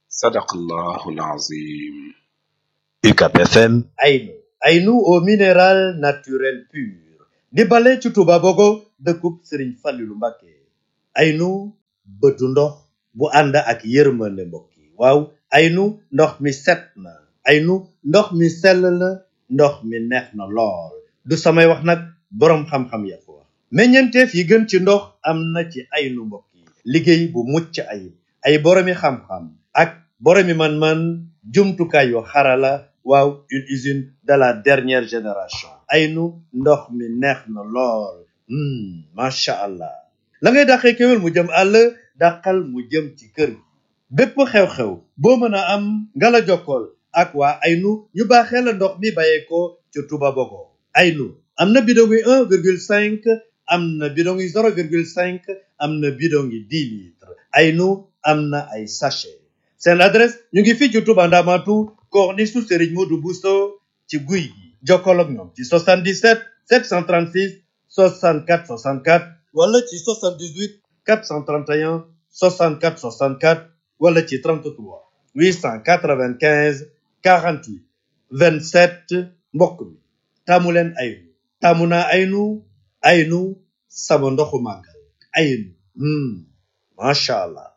Sadaqallahul azim. UCAB FM. Aynu au minéral naturel pur di bale ci Touba Bogo dëkkub Serigne Fallilou Mbacké. Aynu bëtu ndox bu ànd ak yërmande mbokk yi waaw aynu ndox mi set na aynu ndox mi sell na ndox mi neex na lool du samay wax nag boroom xam-xam ya ko wax meññeenteef yi gën ci ndox am na ci aynu mbokk yi liggéey bu mucc ayib ay boroomi xam-xam ak boroomi man-man jumtukaay yu xarala waaw une usine de la dernière génération aynu ndox mi neex na lool macha allah la ngay dàqee kéwél mu jëm àll dàqal mu jëm ci kër gi bépp xew-xew boo mën a am nga la jokkool ak waa aynu ñu baaxee la ndox mi bàyyeekoo ci Touba Bogo aynu am na bidon yi 1,5 am na bidon yi 0,5 am na bidon yi 10 litres aynu am na ay sachet seen adresse ñu ngi fii ci Touba Ndamatu corniche su Serigne Modou Bousso ci guy gi jokkool ak ñoom ci 77 736 64 64 wala ci 78 431 64 64 wala ci 33 895 48 27 mbokk mi taamu leen aynu taamu naa aynu sama ndoxu màggal aynu macha allah